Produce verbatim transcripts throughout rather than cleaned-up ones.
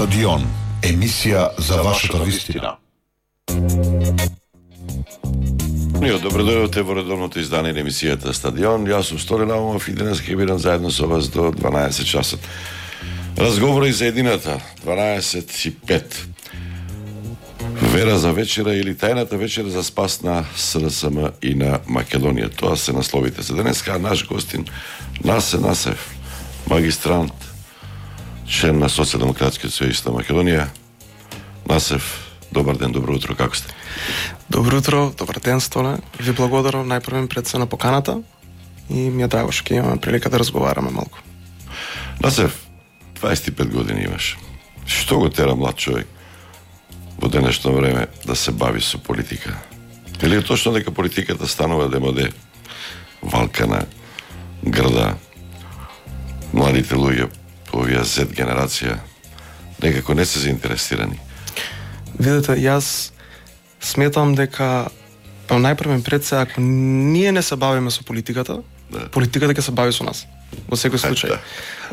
Стадион, емисија за вашата вистина. Ние добро дојдовте во редовното издание на емисијата Стадион. Јас сум Столен Аумов и денес ќе бидам заедно со вас до дванаесет часот. Разговори за едината, дванаесет и пет. Вера за вечера или тајната вечера за спас на СДСМ и на Македонија. Тоа се насловите за денеска. Наш гостин Насе Насев, магистрант, член на Социјалдемократскиот сојуз на Македонија. Насев, добар ден, добро утро, како сте? Добро утро, добар ден, Столе. Ви благодарам најпрвен пред се на поканата и ми е драго што ќе имаме прилика да разговараме малку. Насев, дваесет и пет години имаш. Што го тера млад човек во денешно време да се бави со политика? Или е точно дека политиката станува демоде, валкана, грда, младите луѓе по овие Z генерација некако не се заинтересирани? Видете, јас сметам дека па најпрвен пред се, ако ние не се бавиме со политиката, да. Политиката ќе се бави со нас. Во секој случај.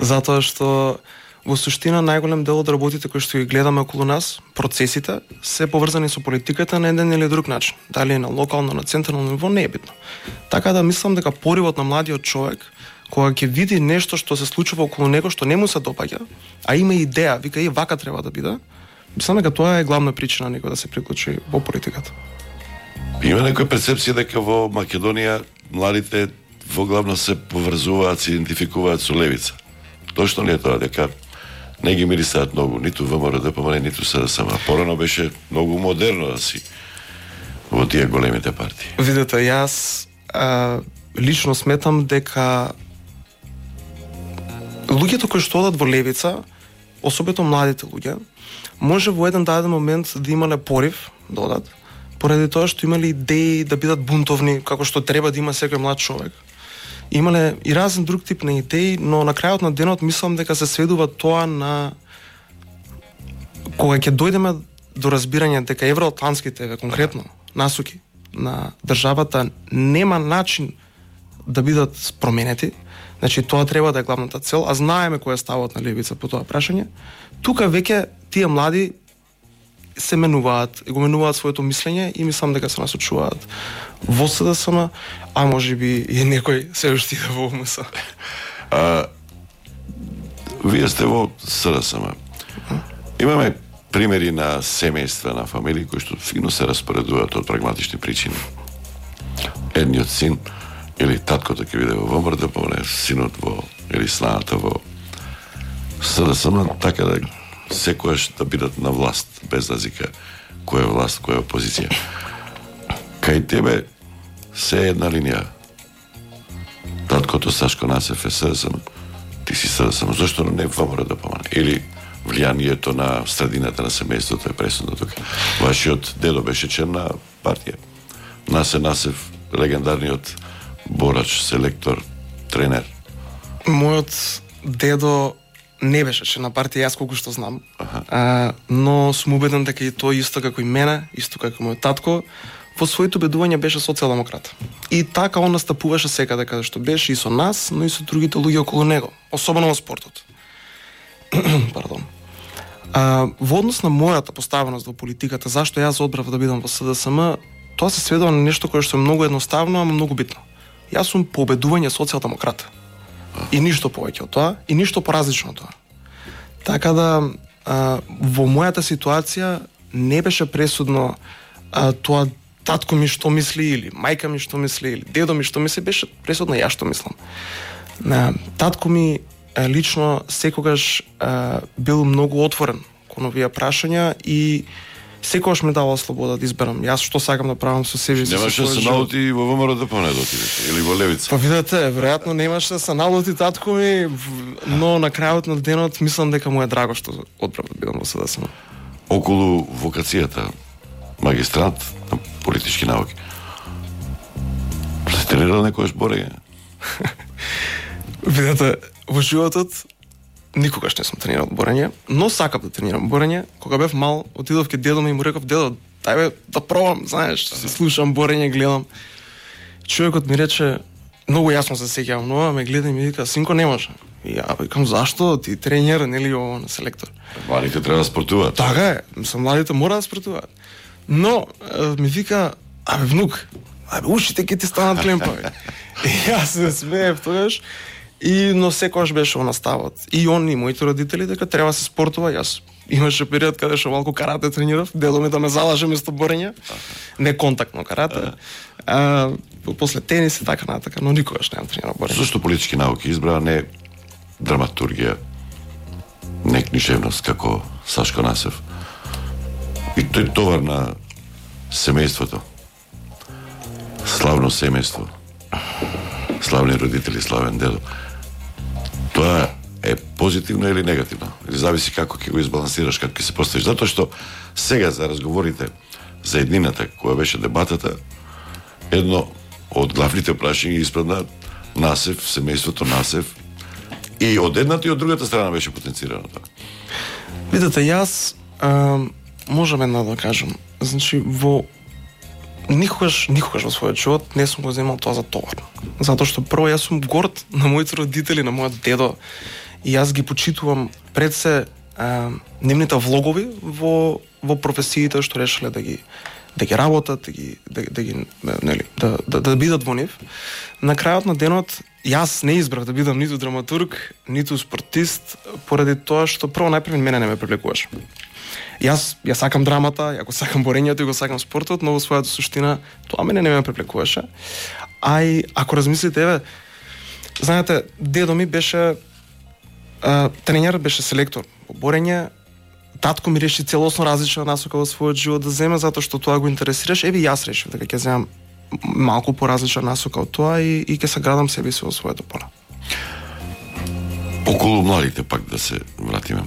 Затоа што во суштина најголем дел од работите кои што ги гледаме околу нас, процесите се поврзани со политиката на еден или друг начин. Дали е на локално, на централно ниво, не е битно. Така да мислам дека поривот на младиот човек кога ќе види нешто што се случува околу него што не му се допаѓа, а има идеја, вика и вака треба да биде, мислам дека тоа е главна причина некој да се приклучи во политиката. Има некоја перцепција дека во Македонија младите во главно се поврзуваат, се идентификуваат со левица. Точно ли е тоа дека не ги мирисаат многу, ниту ВМРО-ДПМН, ниту СДСМ? Порано беше многу модерно да си во тие големите партии. Видете, јас а, лично сметам дека луѓето кои што одат во левица, особено младите луѓе, може во еден даден момент да имале порив да одат, поради тоа што имале идеи да бидат бунтовни, како што треба да има секој млад човек. Имале и разен друг тип на идеи, но на крајот на денот мислам дека се сведува тоа на кога ќе дојдеме до разбирање дека евроатлантските, конкретно, насоки на државата нема начин да бидат променети. Значи тоа треба да е главната цел, а знаеме кој е ставот на левица по тоа прашање. Тука веќе тие млади се менуваат, го менуваат своето мислење и мислам дека се насочуваат во СДСМ, а можеби и некој се уште иде во ОМС. А, вие сте во СДСМ. Имаме примери на семејства, на фамилии кои што фино се распоредуваат од прагматични причини. Едниот син или таткото ќе биде во ВМРО-ДПМН, синот во или снаната во СДСМ, така да секојаш да бидат на власт, без разлика која е власт, која е опозиција. Кај тебе се една линија. Таткото Сашко Насев е СДСМ, ти си СДСМ, зашто не ВМРО-ДПМН? Или влијанието на средината на семејството е пресудно тука? Вашиот дедо беше член на партија. Насе Насев, легендарниот борач, селектор, тренер. Мојот дедо не беше член на партија, јас колку што знам. А, но сум убеден дека и тој исто како и мене, исто како мојот татко, во своето убедување беше социјалдемократ. И така он настапуваше секаде каде што беше и со нас, но и со другите луѓе околу него, особено во спортот. Пардон. А, во однос на мојата поставеност во политиката, зашто јас одбрав да бидам во СДСМ, тоа се сведува на нешто кое што е многу едноставно, ама многу битно. Јас сум по убедување социјалдемократ. И ништо повеќе од тоа, и ништо поразлично од тоа. Така да, а, во мојата ситуација не беше пресудно а, тоа татко ми што мисли, или мајка ми што мисли, или дедо ми што мисли, беше пресудно ја што мислам. А, татко ми а, лично секогаш а, бил многу отворен кон овие прашања и секогаш ми давал слобода да изберам јас што сакам да правам со себе. Немаше да се налути во ВМРО-ДПМН да отидете или во левица? Па видете, веројатно немаше да се налути татко ми, но на крајот на денот мислам дека му е драго што одбрав да бидам во СДСМ. Околу вокацијата магистрант на политички науки. Се тренирал некојаш борење? Видете, во животот никогаш не сум тренирал борење, но сакам да тренирам борење. Кога бев мал, отидов ке дедо ми и му реков: "Дедо, дај бе да пробам, знаеш, се слушам борење, гледам." Човекот ми рече, многу јасно се сеќавам, но ме гледа и ми вика: "Синко, не може. И ја викам, зашто? Ти тренер, нели ово на селектор. Младите треба да спортуваат. Така е, мислам, младите мора да спортуваат. Но, ми вика, абе, внук, абе, ушите ќе ти станат клемпави. И јас се смеев тогаш, и, но секогаш беше она ставот. И он и моите родители дека треба се спортува, јас имаше период каде што малку карате тренирав, дедо ми да ме залаже место борење, не контактно карате. А, после тенис и така натака, но никогаш немам тренирал борење. Зошто политички науки избра, не драматургија, не книжевност како Сашко Насев? И тој товар на семејството. Славно семејство. Славни родители, славен дедо. Тоа е позитивно или негативно? Или зависи како ќе го избалансираш, како ќе се поставиш. Затоа што сега за разговорите за еднината, која беше дебатата, едно од главните прашања испадна Насев, семејството Насев, и од едната и од другата страна беше потенцирано тоа. Видете, јас а, можам една да кажам. Значи, во никогаш, никогаш во својот живот не сум го земал тоа за товар. Затоа што прво јас сум горд на моите родители, на мојот дедо, и јас ги почитувам пред се а, нивните влогови во во професиите што решиле да ги да ги работат, да ги да, да ги нели да, да да бидат во нив. На крајот на денот јас не избрав да бидам ниту драматург, ниту спортист, поради тоа што прво најпрво мене не ме привлекуваше. Јас ја сакам драмата, ја го сакам борењето и го сакам спортот, но во својата суштина тоа мене не ме привлекуваше. А и ако размислите, еве, знаете, дедо ми беше а, тренер, беше селектор во борење. Татко ми реши целосно различна насока во својот живот да земе, затоа што тоа го интересираш. Еве јас решив дека ќе земам малку поразлична насока од тоа и, и ќе се градам себе си во своето поле. Околу младите пак да се вратиме.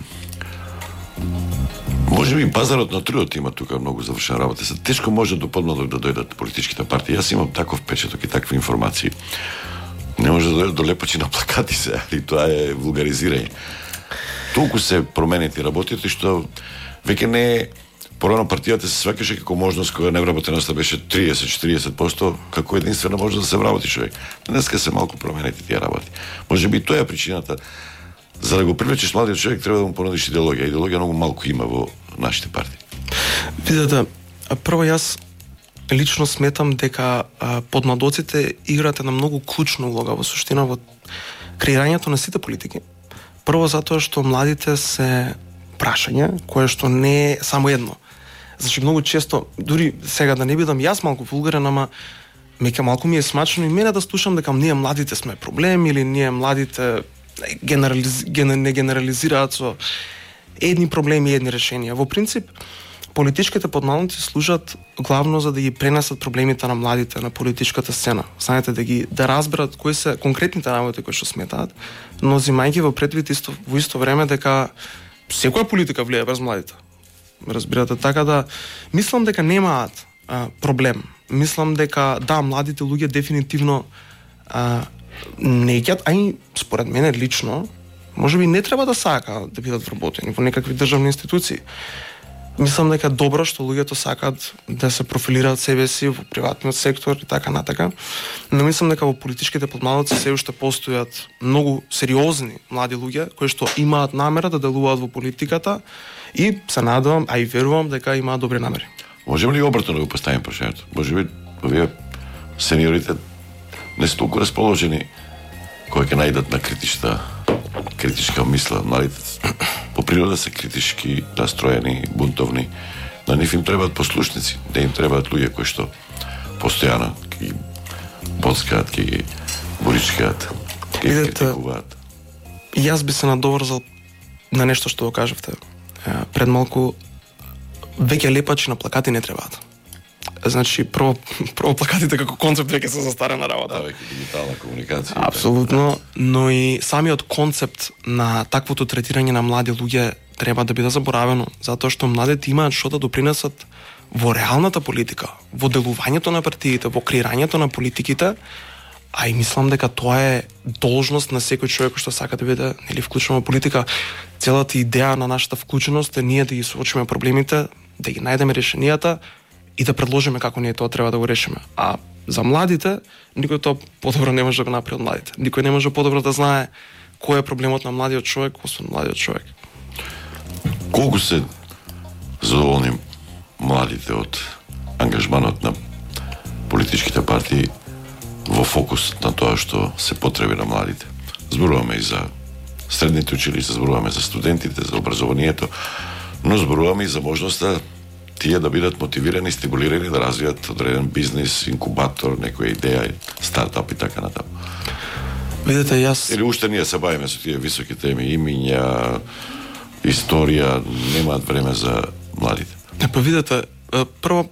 Може би пазарот на трудот има тука многу завршена работа. Се тешко може до подмладок да дојдат политичките партии. Јас имам таков печаток и такви информации. Не може да дојдат до лепачи на плакати се, али тоа е вулгаризирање. Толку се променети работите што веќе не е порано партијата се сваќаше како можност кога невработеноста беше триесет до четириесет проценти како единствена можност да се вработи човек. Денеска се малку променети тие работи. Може би тоа е причината. За да го привлечеш младиот човек треба да му понудиш идеологија. Идеологија многу малку има во нашите партии. Видете, прво јас лично сметам дека а, подмладоците играат една многу клучна улога во суштина во креирањето на сите политики. Прво затоа што младите се прашање кое што не е само едно. Значи многу често, дури сега да не бидам јас малку вулгарен, ама меќе малку ми е смачно и мене да слушам дека ние младите сме проблем или ние младите генерализ... ген... не генерализираат со едни проблеми и едни решенија. Во принцип, политичките подмладоци служат главно за да ги пренесат проблемите на младите на политичката сцена. Знаете, да ги да разберат кои се конкретните работи кои што сметаат, но зимајќи во предвид исто во исто време дека секоја политика влијае врз младите. Разбирате, така да мислам дека немаат а, проблем. Мислам дека да, младите луѓе дефинитивно а, не ќе, а и според мене лично, можеби не треба да сакаат да бидат вработени во некакви државни институции. Мислам дека е добро што луѓето сакаат да се профилираат себе си во приватниот сектор и така натака. Но мислам дека во политичките подмладоци се уште постојат многу сериозни млади луѓе кои што имаат намера да делуваат во политиката и се надевам, а и верувам дека имаат добри намери. Можеме ли обратно да го поставим прашањето? Можеби овие сениорите не се толку расположени кои ќе најдат на критичка критичка мисла. Младите по природа се критички настроени, бунтовни. На нив им требаат послушници, да им требаат луѓе кои што постојано ќе ги боцкаат, ќе ги боричкаат, ќе ги критикуваат. Јас би се надоврзал на нешто што го кажавте. Пред малку, веќе лепачи на плакати не требаат. Значи, прво, прво плакатите како концепт веќе се застарена работа. Да, веќе дигитална комуникација. Апсолутно, но и самиот концепт на таквото третирање на млади луѓе треба да биде заборавено, затоа што младите имаат што да допринесат во реалната политика, во делувањето на партиите, во креирањето на политиките, а и мислам дека тоа е должност на секој човек што сака да биде нели вклучен во политика. Целата идеја на нашата вклученост е ние да ги соочиме проблемите, да ги најдеме решенијата и да предложиме како ние тоа треба да го решиме. А за младите, никој тоа подобро не може да го направи од младите. Никој не може подобро да знае кој е проблемот на младиот човек, освен младиот човек. Колку се задоволни младите од ангажманот на политичките партии во фокус на тоа што се потреби на младите? Зборуваме и за средните училишта, зборуваме за студентите, за образованието, но зборуваме и за можноста тие да бидат мотивирани, стимулирани да развијат одреден бизнис, инкубатор, некоја идеја, стартап и така натаму. Видете, јас... Или уште ние се бавиме со тие високи теми, имиња, историја, немаат време за младите. Па видете, прво,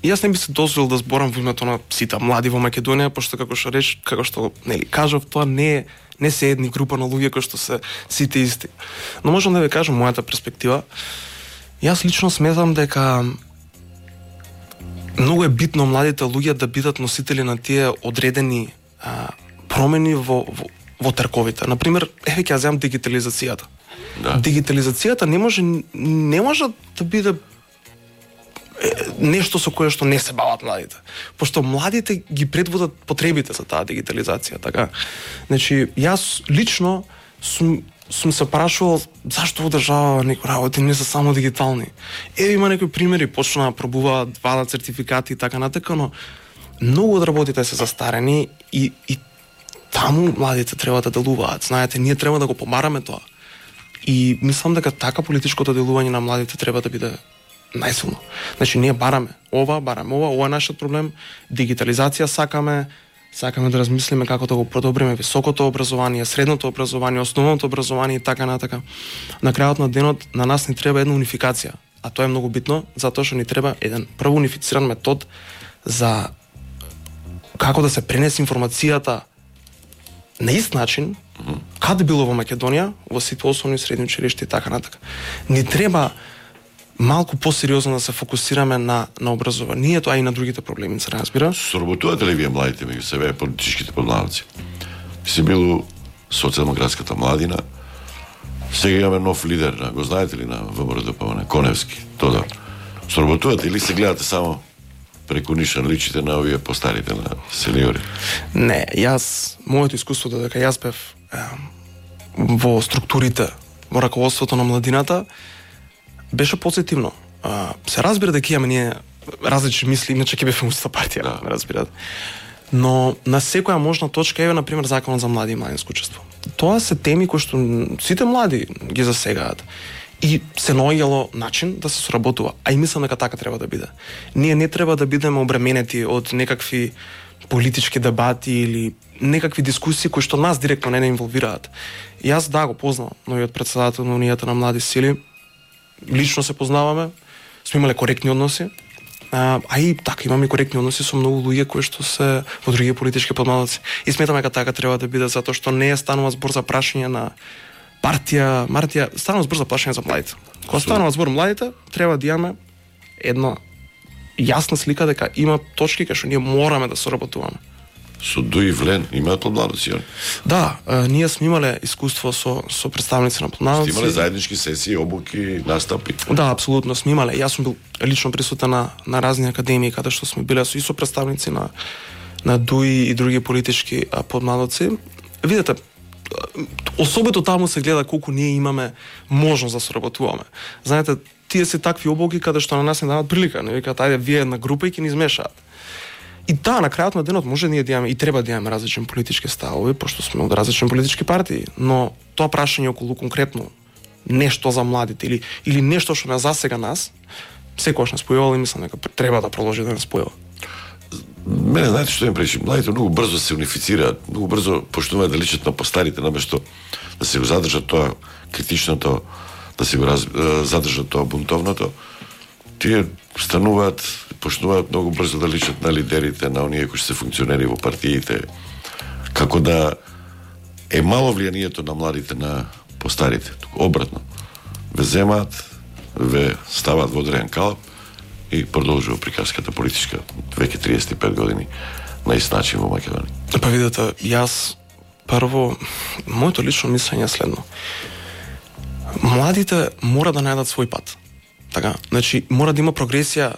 јас не би се дозволил да зборам во името на сите млади во Македонија, пошто како што реч, како што нели кажав, тоа не е не се едни група на луѓе кои што се сите исти. Но можам да ви кажам мојата перспектива. Јас лично сметам дека многу е битно младите луѓе да бидат носители на тие одредени а, промени во, во, во трковите. Например, еве ќе ја земам дигитализацијата. Да. Дигитализацијата не може не може да биде нешто со кое што не се бават младите. Пошто младите ги предводат потребите за таа дигитализација, така. Значи, јас лично сум сум се прашувал зашто во држава некои работи не се само дигитални. Еве има некои примери, почнаа да пробуваат, вадат сертификати и така натака, но многу од работите се застарени и и таму младите треба да делуваат. Знаете, ние треба да го помараме тоа. И мислам дека така политичкото делување на младите треба да биде најсилно. Значи, ние бараме ова, бараме ова, ова е нашиот проблем, дигитализација сакаме, сакаме да размислиме како да го подобриме високото образование, средното образование, основното образование и така натака. На крајот на денот на нас ни треба една унификација, а тоа е многу битно, затоа што ни треба еден прво унифициран метод за како да се пренесе информацијата на ист начин, каде било во Македонија, во сите основни средни училишта и така натака. Ни треба малку посериозно да се фокусираме на на образованието, а и на другите проблеми, се разбира. Соработувате ли вие младите меѓу себе, политичките подмладици? Си бил социјалдемократската младина, сега имаме нов лидер, го знаете ли, на ВМРО-ДПМН, Коневски, Тодор. Соработувате или се гледате само преку нишан личите на овие постарите, на сениори? Не, јас, моето искуство додека јас бев е, во структурите, во раководството на младината, беше позитивно. А, се разбира дека имаме ние различни мисли, иначе ќе бевме уста партија, да. Разбирате. Но на секоја можна точка, еве, например, Законот за млади и младинско учество. Тоа се теми кои што сите млади ги засегаат. И се наоѓало начин да се соработува. А и мислам дека така треба да биде. Ние не треба да бидеме обременети од некакви политички дебати или некакви дискусии кои што нас директно не не инволвираат. Јас да го познавам новиот претседател на Унијата на млади сили. Лично се познаваме, сме имале коректни односи, а, а и така имаме коректни односи со многу луѓе кои што се во други политички подмладици. И сметаме дека така треба да биде, затоа што не е станува збор за прашање на партија, мартија, станува збор за прашање за младите. Кога станува збор младите, треба да имаме една јасна слика дека има точки кај што ние мораме да соработуваме. Со Дуи Влен имаат подмладици? Да, а, ние сме имале искуство со со представници на подмладици. Сте имале заеднички сесии, обуки, настапи? Да, апсолутно сме имале. Јас сум бил лично присутен на на разни академии каде што сме биле со и со представници на на Дуи и други политички а, подмладици. Видете, особено таму се гледа колку ние имаме можност да соработуваме. Знаете, тие се такви обуки каде што на нас не даваат прилика, не викаат ајде вие една група и ќе ни измешаат. И да, на крајот на денот може ние да имаме и треба да имаме различни политички ставови, пошто сме од различни политички партии, но тоа прашање околу конкретно нешто за младите или или нешто што не засега нас, секогаш не спојувало и мислам дека треба да продолжи да не спојува. Мене знаете што им пречи? Младите многу брзо се унифицираат, многу брзо почнуваат да личат на постарите, наместо да се го задржат тоа критичното, да се го раз... задржат тоа бунтовното. Тие стануваат, почнуваат многу брзо да личат на лидерите, на оние кои се функционери во партиите, како да е мало влијанието на младите на постарите. Обратно. Ве земаат, ве ставаат во одреден калап и продолжува приказката политичка веќе триесет и пет години на ист начин во Македонија. Па видете, јас прво моето лично мислење е следно. Младите мора да најдат свој пат. Така, значи мора да има прогресија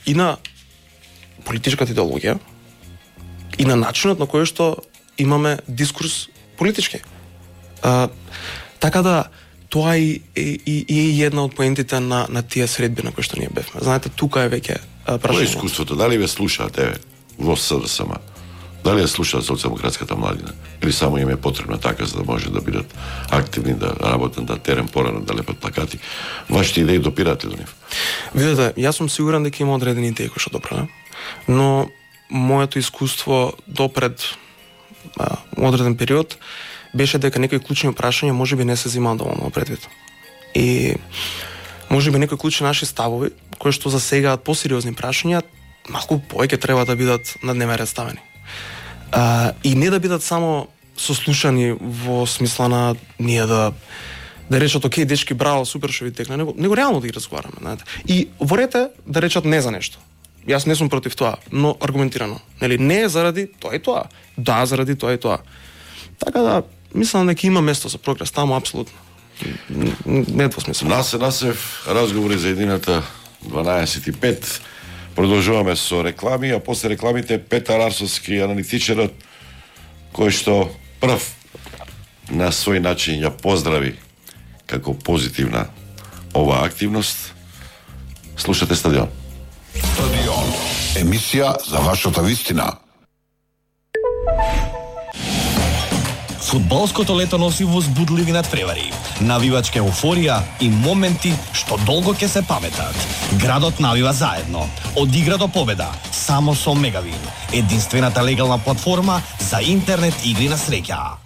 и на политичката идеологија и на начинот на кој што имаме дискурс политички. А, така да тоа и и и една од поентите на на тие средби на кои што ние бевме. Знаете, тука е веќе прашање. Кој е искуството? Дали ве слушаате во СДСМ? Дали ја слушаат социјалдемократската младина? Или само им е потребна така за да може да бидат активни, да работат, да терен порано, да лепат плакати? Вашите идеи допираат ли до нив? Видете, јас сум сигурен дека има одредени идеи кои што допрана, но моето искуство допред а, одреден период беше дека некои клучни прашања можеби не се земаат доволно предвид. И можеби некои клучни наши ставови, кои што засегаат посериозни прашања, малку повеќе треба да бидат на дневен ред ставени. А, и не да бидат само сослушани во смисла на ние да да речат окей, дечки, браво, супер што ви текна, него, него реално да ги разговараме, знаете. И во рете да речат не за нешто. Јас не сум против тоа, но аргументирано. Нели, не е заради тоа и тоа. Да, заради тоа и тоа. Така да, мислам дека има место за прогрес таму апсолутно. Не е двосмислено. Насе насев разговори за едината дванаесет и пет. Продолжуваме со реклами, а после рекламите Петар Арсовски, аналитичарот, кој што прв на свој начин ја поздрави како позитивна оваа активност. Слушате Стадион. Стадион. Емисија за вашата вистина. Фудбалското лето носи возбудливи надпревари, навивачка еуфорија и моменти што долго ќе се паметат. Градот навива заедно, од игра до победа, само со Мегавин, единствената легална платформа за интернет игри на среќа.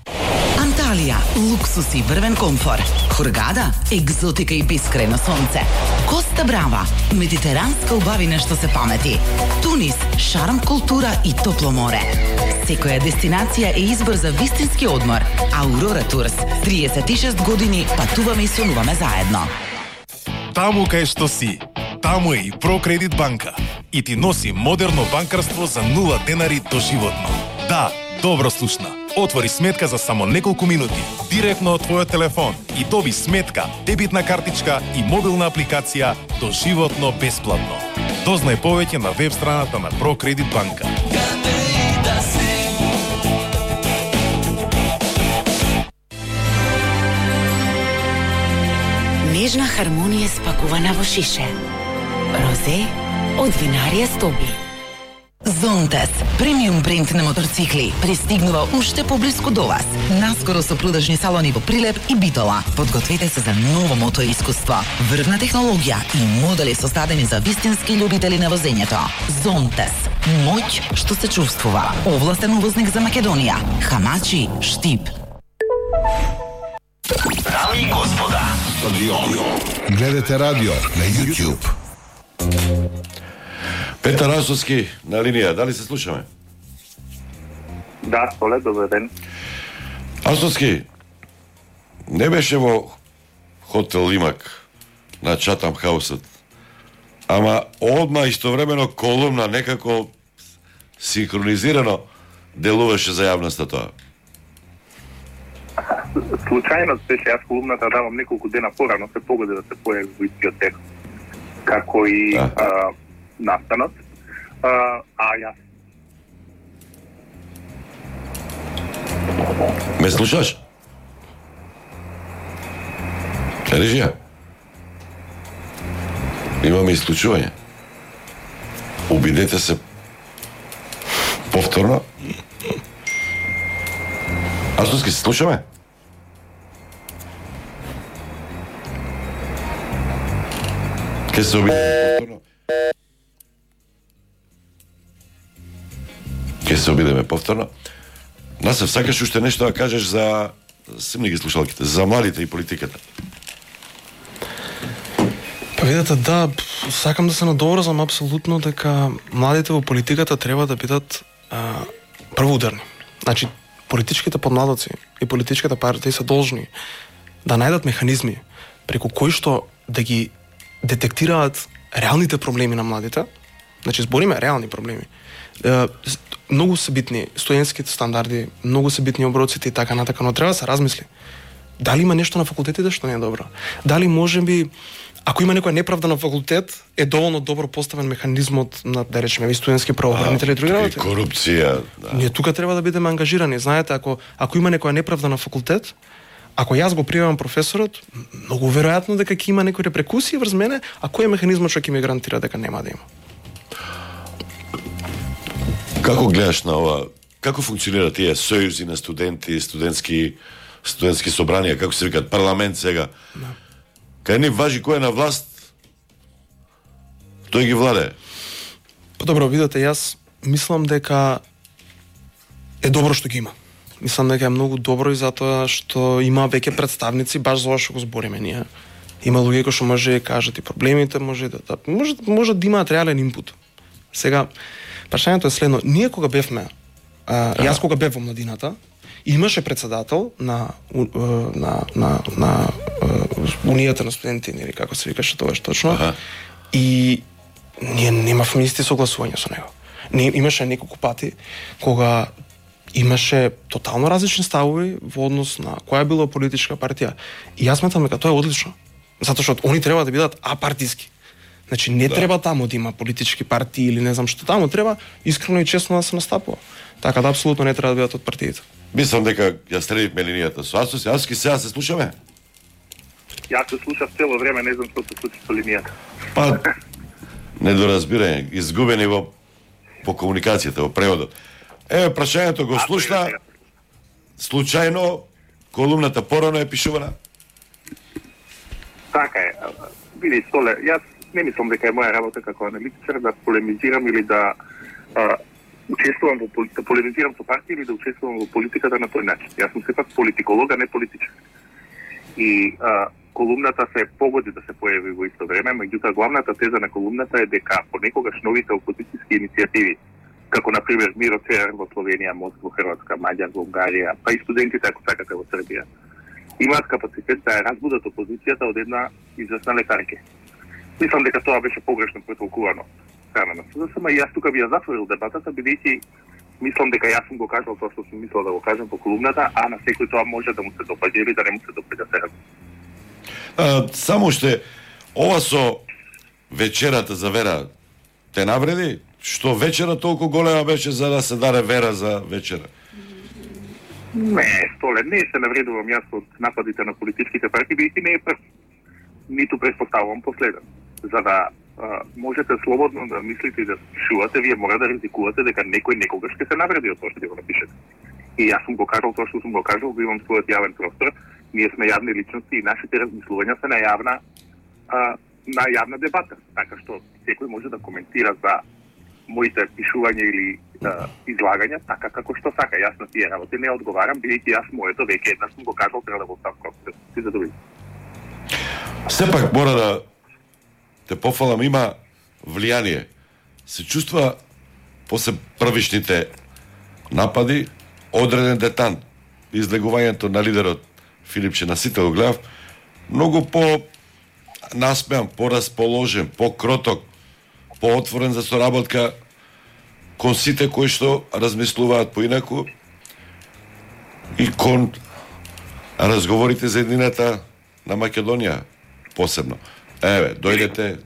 Анталија, луксус и врвен комфор. Хургада, екзотика и бескрајно сонце. Коста Брава, медитеранска убавина што се памети. Тунис, шарм, култура и топло море. Секоја дестинација е избор за вистински одмор. Аурора Турс, триесет и шест години патуваме и сонуваме заедно. Таму кај што си, таму е и Прокредит банка. И ти носи модерно банкарство за нула денари доживотно. Да, добро слушна. Отвори сметка за само неколку минути, директно од твојот телефон и доби сметка, дебитна картичка и мобилна апликација доживотно бесплатно. Дознај повеќе на веб страната на Прокредит банка. Нежна хармонија спакувана во шише. Розе од винарија Стоби. Зонтес, премиум бренд на моторцикли, пристигнува уште поблиску до вас. Наскоро со продажни салони во Прилеп и Битола. Подгответе се за ново мото искуство. Врвна технологија и модели создадени за вистински љубители на возењето. Зонтес, моќ што се чувствува. Овластен увозник за Македонија. Хамачи, Штип. Дами и господа, Стадион. Гледате радио на YouTube. Петар Арсовски на линија, дали се слушаме? Да, Соле, добар ден. Арсовски, не беше во хотел Имак на Чатам хаусот, ама одма истовремено колумна некако синхронизирано делуваше за јавноста тоа. Случајно беше, јас колумната давам неколку дена порано, се погоди да се појави во истиот текст, како и а. а, настанот, а, а јас. Ме слушаш? Режија? Имаме исклучување. Обидете се повторно. Арсовски, се слушаме? Ке се обидеме повторно. Ке се обидеме повторно. Насев, сакаш уште нешто да кажеш за симни ги слушалките, за младите и политиката? Па видете, да, сакам да се надоврзам апсолутно дека младите во политиката треба да бидат а, првоударни. Значи, политичките подмладоци и политичките партии се должни да најдат механизми преку кои што да ги детектираат реалните проблеми на младите. Значи, збориме реални проблеми. Е, многу се битни студентските стандарди, многу се битни оброците и така натака, но треба да се размисли. Дали има нешто на факултетите што не е добро? Дали можеби, ако има некоја неправда на факултет, е доволно добро поставен механизмот на, да речеме, и студентски правоохранители и други работи? Корупција, да. Ние тука треба да бидеме ангажирани. Знаете, ако ако има некоја неправда на факултет, Ако јас го приемам професорот, многу веројатно дека ќе има некои репрекусии врз мене, а кој е механизмот што ќе ми гарантира дека нема да има? Како гледаш на ова? Како функционира тие сојузи на студенти, студентски студентски собранија, како се викаат, парламент сега? Да. Кај ни важи кој е на власт, тој ги владе. Па добро, видете, јас мислам дека е добро што ги има. Мислам дека е многу добро и затоа што има веќе представници, баш за ова што го збориме ние. Има луѓе кои што може да кажат и проблемите, може да, да може, може да имаат реален инпут. Сега, прашањето е следно. Ние кога бевме, а, јас кога бев во младината, имаше председател на на на на унијата на студенти, нели како се викаше тоа точно. Аха. И ние немавме исти согласувања со него. Не имаше неколку пати кога имаше тотално различни ставови во однос на која била политичка партија. И јас сметам дека тоа е одлично. Затоа што они треба да бидат апартиски. Значи не да. треба таму да има политички партии или не знам што, таму треба искрено и честно да се настапува. Така да апсолутно не треба да бидат од партиите. Мислам дека ја средивме линијата со Асос. Аски сега се слушаме? Јас се слушав цело време, не знам што се случи со линијата. Па недоразбирање, изгубени во по комуникацијата, во преводот. Еве прашањето го слушна. Случајно колумната порано е пишувана? Така е. Види, Столе, јас не мислам дека е моја работа како аналитичар да полемизирам или да а, учествувам во да полемизирам со партија или да учествувам во политиката на тој начин. Јас сум сепак политиколог, а не политичар. И а, колумната се погоди да се појави во исто време, меѓутоа главната теза на колумната е дека понекогаш новите опозицијски иницијативи, како на пример Миро Церар во Словенија, Мост во Хрватска, Маѓар во Унгарија, па и студентите ако сакате во Србија, имаат капацитет да ја разбудат опозицијата од една известна лекарке. Мислам дека тоа беше погрешно претолкувано страна на СДСМ и јас тука би ја затворил дебатата, бидејќи мислам дека јас сум го кажал тоа што сум мислел да го кажам по колумната, а на секој тоа може да му се допаѓа или да не му се допаѓа сега. А, само уште ова со вечерата за вера те навреди? Што вечера толку голема беше за да се даде вера за вечера? Не, Столе, не се навредувам јас од нападите на политичките партии, бидејќи не е прв. Ниту предпоставувам последен. За да а, можете слободно да мислите и да пишувате, вие мора да ризикувате дека некој некогаш ќе се навреди од тоа што ќе го напишете. И јас сум го кажал тоа што сум го кажал, го имам својот јавен простор. Ние сме јавни личности и нашите размислувања се на јавна а, на јавна дебата, така што секој може да коментира за моите пишувања или а, излагања така како што сака. Јас на тие работи не одговарам, бидејќи јас моето веќе еднаш сум го кажал, треба да го ставам како се задоволам. Сепак мора да те пофалам, има влијание. Се чувства после првичните напади одреден детант. Излегувањето на лидерот Филипче на сите го гледав, многу по насмеан, порасположен, по-кроток, поотворен за соработка кон сите кои што размислуваат поинаку и кон разговорите за едината на Македонија посебно. Еве, дојдете,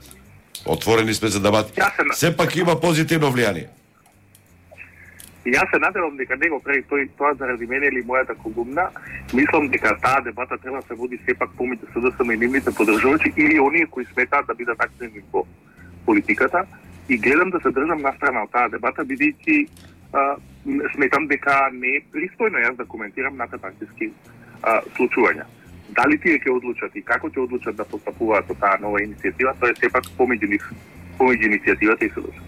отворени сме за дебат. Сепак има позитивно влијание. Јас се надевам дека него прави тој тоа заради мене или мојата колумна. Мислам дека таа дебата треба да се води сепак помеѓу СДСМ и нивните поддржувачи или оние кои сметаат да бидат активни во политиката, и гледам да се држам настрана од таа дебата, бидејќи сметам дека не е пристојно јас да коментирам надпартиски случувања. Дали тие ќе одлучат и како ќе одлучат да постапуваат со таа нова иницијатива, тоа е сепак помеѓу нив, помеѓу иницијативата и СДСМ.